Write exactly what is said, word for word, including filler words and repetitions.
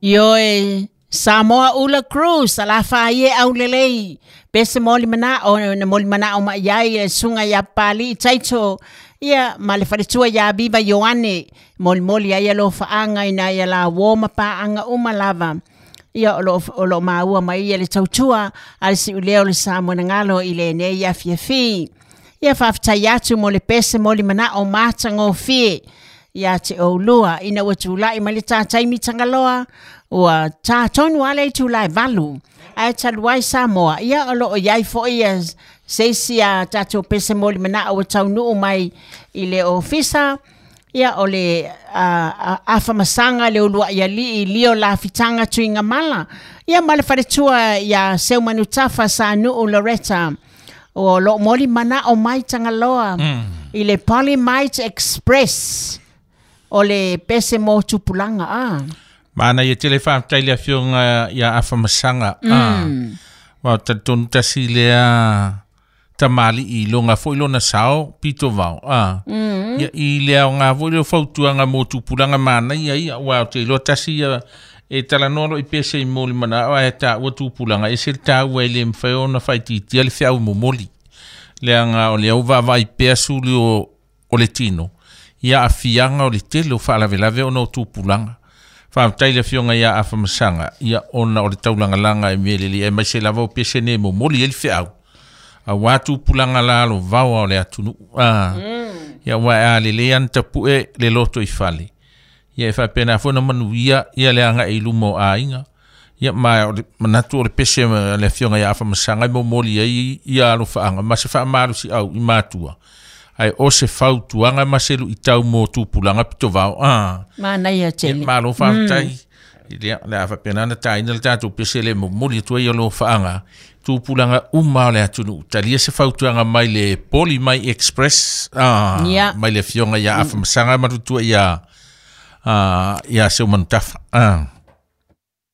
Ioe Samoa Ula Cruz alafa ie aulelei pese moli mana o na moli mana o mai ai sunga ia pali taito ia ma le faletua ia Viva Ioane moli moli ai alo faanga ina ia la wo pa anga uma lava ia o lo o lo maua mai ia le tautua al si uleo le Samoa ngalo ile ne ia fiafi ia faftai atu mo le pese moli mana o mata ngofie ia te olua ina ua tulai mai le tātai mitangaloa ua tātonu ale i tulai valu ae taluai Samoa ia o loo iai fo'i ia seisi a tatou pese moli mana'o ua taunuu mai i le ofisa ia o le afamasaga le ulua'i ali'i lio lafitaga tuigamala ia ma le faletua ia Seumanutafa Sanuu Loretta o loo moli mana'o mai Tagaloa mm. i le Polymite Express o le pese mo tupulaga a Mana ia tele faafetai le afioga ia Afamasaga mm. a wa talitonu tasi lea tamali'i loga fo'i lona sao pito vao a mm. ia i le aoga fo'i le fautuaga mo tupulaga manaia ia ua o te iloa tasi ia e talanoa lo i pese i moli mana'o ae taua tupulaga e se le taua e le mafai ona faitiitia le feau momoli leaga o le au vaavaai pea suli o o le tino ia afiaga o le tele o faalavelave ona o tupulaga faafetai le afioga ia Afamasaga ia ona o le taulagalaga e mea lelei e maise lava o pese nei momoli ai le feau auā tupulaga la alovaoa o le atunuu a ia ua e alelei ana tapu'e le loto i fale ia e faapena foi na manuia ia le aga'i i luma o aiga ia ma o le manatu o le pese le afioga ia Afamasaga e momoli ai ia alofaaga ma se faamalosi au i matua ai o se fautuaga ma se lu'itau mo tupulaga pitovao a manaia tele malo faafetai mm. le le a faapena na taina le tatou pese le momoli atu ai o lofaaga tupulaga uma o le atunuu talia se fautuaga mai le Poli Mai Express ah, yeah. mai le afioga ia Afamasaga ma tutua ia ah, ia Seumanutafa ah.